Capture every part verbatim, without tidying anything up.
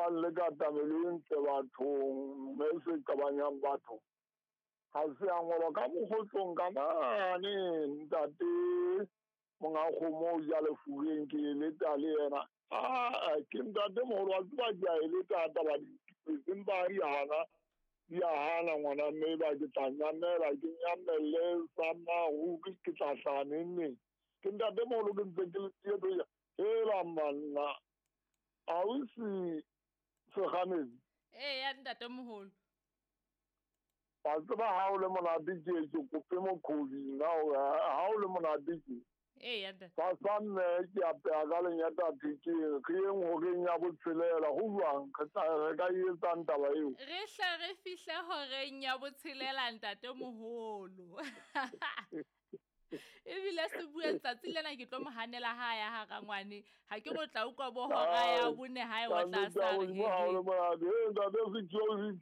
bang le katamelo e ntle bathong, mme se qabanyang batho ha se a ngolwa ka mokgotlong ka mane. Ntate monga kgomo o ja lefubeng, ke eleta le yena. Aa, ke ntate moholo wa tseba, ke a eleta taba empa di hana, di a hana ngwana mme ba ke tla nyamela, ke nyamelle sa maruri, ke tla hlaha neng neng. Ke ntate moholo ke ntse ke le tieto ya hela manna. Ausi Segamedi. Ee ya ntate moholo. Wa tseba ha o le monate ke ke kope mokhodi nna hore ha o le monate ke. Ee ya ntate. Sa sa mme ke apeha ka lenyata thekeng, re yeng horeng ya botshelela, ho jwang? Re tla re ka e etsang taba eo? Re hle re fihle horeng ya botshelela ntate moholo. Ebile se bue letsatsi lena ke tlo mo hanela ha ya ha rangwane. Ha ke re o tla utlwa bo hora ya bone hae wa tla sa re. Ha o le monate, eh ntate Security.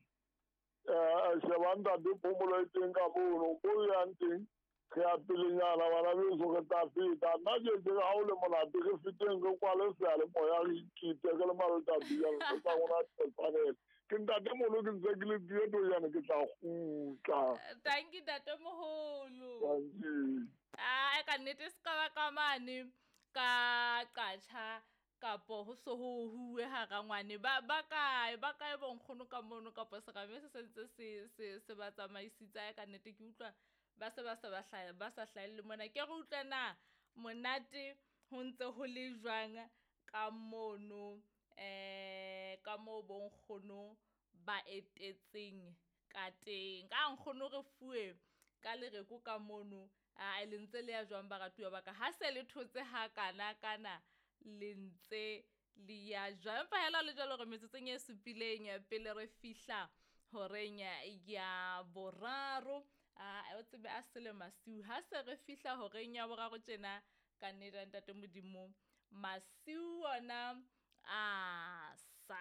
Eh sheba ntate phomolo e teng ka mono, ko yang teng re ya pelenyana bana beso re tla feta. Nna ke ke ha o le monate re feteng re kwale seyalemoya re ikite re le malotati jalo, re tla rona tshwanelo. Ke ntate moholo ke ntse ke le tieto jane ke tla kgutla. Thank you ntate moholo. Thank you. Ah, ka nnete se ka ba ka mane ka qatjha kapo ho so ho huwe ha rangwane ba ba kae ba kae bonkgono ka mono kapo serame se sentse se se se ba tsamaisitse. Ka nnete ke utlwa ba se ba se ba hlaha ba sa hlahelle mona. Ke re utlwe na monate ho ntse ho le jwang ka mono, eh ka moo bonkgono ba etetseng ka teng. Ka nkgono re fuwe ka lereko ka mono. A le ntse le ya jwang baratuwa ba ka? Ha se le thotse ha kana kana le ntse le ya jwang? Empa hela le jwalo re metsotsong e supileng pele re fihla horeng ya boraro. A o tsebe a sele masiu. Ha se re fihla horeng ya boraro tjena ka nnete ntate Modimo masiu ona a sa.